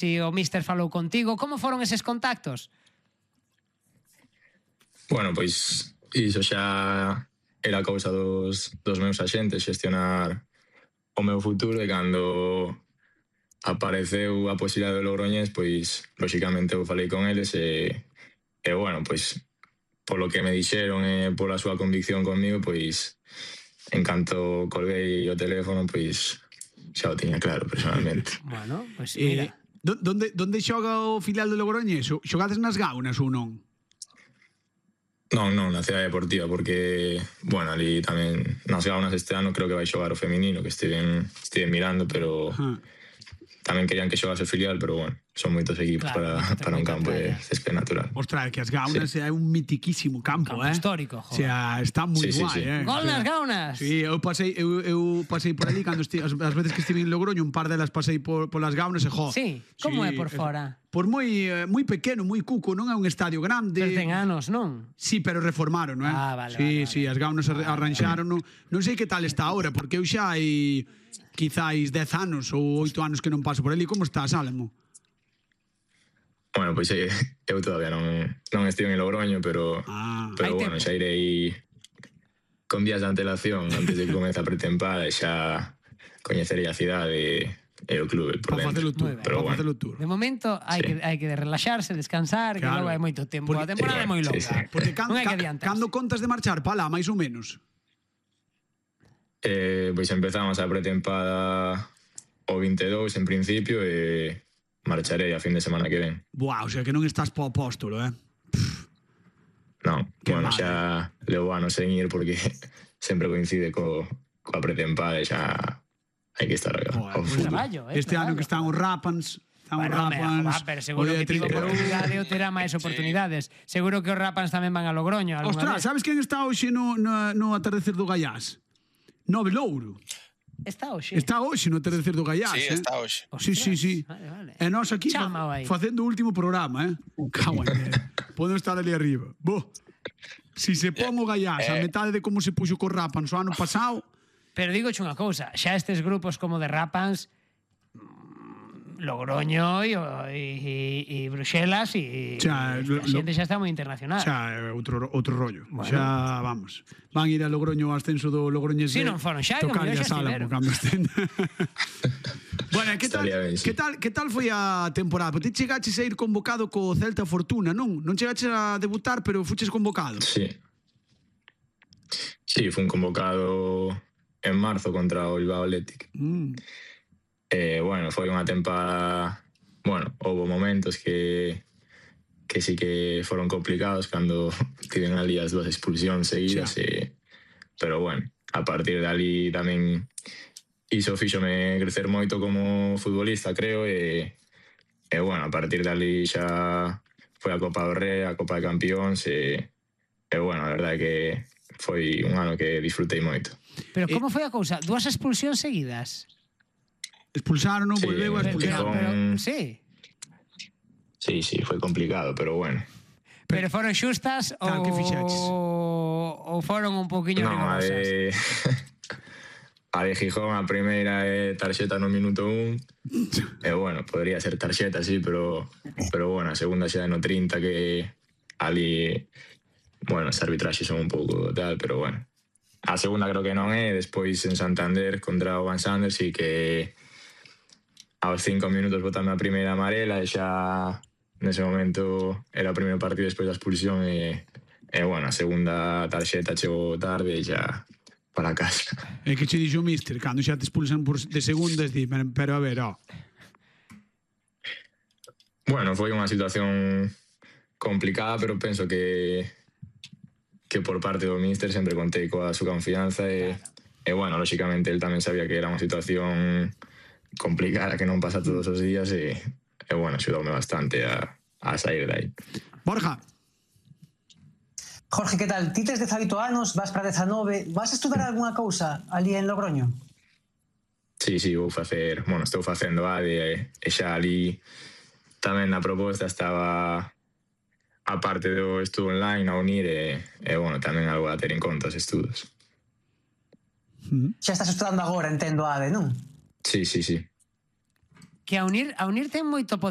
si o míster falou contigo, como foron eses contactos? Bueno, pois iso xa era cousa dos meus axentes, xestionar o meu futuro, e cando apareceu a posibilidade do Logroñés, pois lóxicamente eu falei con eles e bueno, pois polo que me dixeron e pola súa convicción conmigo, pois en canto colguei o teléfono, pois xa o tiña claro personalmente. Bueno, pois mira. Donde xoga o filial do Logroñés? Xogades nas Gaunas ou non? Non, na Cidade Deportiva, porque, bueno, ali tamén nas Gaunas este ano creo que vai xogar o feminino, que estive mirando, pero tamén querían que xogase o filial, pero bueno, son moitos equipos para un campo de césped natural. Ostras, que as Gaunas é un mitiquísimo campo, campo histórico, joder. O sea, está moi guai, Gol nas Gaunas! Sí, eu pasei por ali cando as veces que estive en Logroño, un par delas pasei polas Gaunas e, jo. Sí, como é por fora? Por moi pequeno, moi cuco, non é un estadio grande. Pero ten anos, non? Sí, pero reformaron, non é? Ah, vale. Sí, as Gaunas arranxaron. Non sei que tal está ahora, porque eu xa hai quizáis 10 anos ou 8 anos que non paso por ali. Como estás, Álamo? Bueno, pois eu todavía non estive en Logroño, pero bueno, xa irei con días de antelación antes de que comece a pretempada e xa coñecerei a cidade e o clube por dentro. Pero bueno, de momento hai que relaxarse, descansar, que logo hai moito tempo. A temporada é moi longa. Porque cando contas de marchar pa lá, máis ou menos? Pois empezamos a pretempada o 22 en principio e marcharei a fin de semana que ven. Buah, o sea que non estás po apóstolo, Non, bueno, xa levo anos sen ir porque sempre coincide coa pretempada e xa hai que estar ao fútbol. Este ano que están os Rapans, pero seguro que tivo oportunidade ou terá máis oportunidades. Seguro que os Rapans tamén van a Logroño. Ostras, sabes quen está hoxe no atardecer do Gaiás? Nove Louro. Está hoxe? Está hoxe no atardecer do Gaiás. Sí, está hoxe. Sí. Vale. E nós aquí facendo o último programa, Cago en Podo estar ali arriba. Si se pon o Gaiás a metade de como se puxo co Rapans o ano pasado. Pero digo unha cousa, xa estes grupos como de Rapans, Logroño e Bruxelas e a xente xa está moi internacional. Xa outro rollo. Xa, vamos, van ir a Logroño ao ascenso do Logroñés. Si non foron xa, como yo xa estiveron. Bueno, que tal foi a temporada? Porque ti chegaches a ir convocado co Celta Fortuna, non? Non chegaches a debutar, pero fuches convocado. Sí, fun convocado en marzo contra o Bilbao Athletic. Bueno, foi unha tempada... Bueno, houve momentos que sí que foron complicados cando tiven ali as 2 expulsións seguidas, pero bueno, a partir de ali tamén iso fíxome crecer moito como futbolista, creo, e bueno, a partir de ali xa foi a Copa do Rei, a Copa de Campións, e bueno, a verdade é que foi un ano que disfrutei moito. Pero como foi a cousa? 2 expulsións seguidas? Expulsaron, volveu a expulsar. Sí, foi complicado, pero bueno. Pero foron xustas ou foron un poquinho rigorosas? A de Gijón, a primeira é tarxeta no minuto 1. E bueno, podría ser tarxeta, sí, pero bueno, a segunda xa é no 30, que ali, bueno, as arbitraxes son un pouco tal, pero bueno. A segunda creo que non é, despois en Santander contra o Van Sanders, sí que aos 5 minutos botame a primeira amarela e xa nese momento era o primeiro partido despois da expulsión e bueno, a segunda tarxeta chegou tarde e xa para casa. E que che dixo o míster cando xa te expulsan de segundas, pero a ver, Bueno, foi unha situación complicada, pero penso que por parte do míster sempre contei coa súa confianza e bueno, lóxicamente el tamén sabía que era unha situación complicada que non pasa todos os días e bueno, axudoume bastante a sair de aí. Borja. Jorge, que tal? Ti tes 18 anos, vas para 19, vas a estudar algunha cousa ali en Logroño? Sí, vou facer, bueno, estou facendo ADE e xa ali tamén na proposta estaba a parte do estudo online a unir e bueno, tamén algo a ter en conta os estudos. Xa estás estudando agora, entendo, ADE, non? Sí. que a unir ten moito poder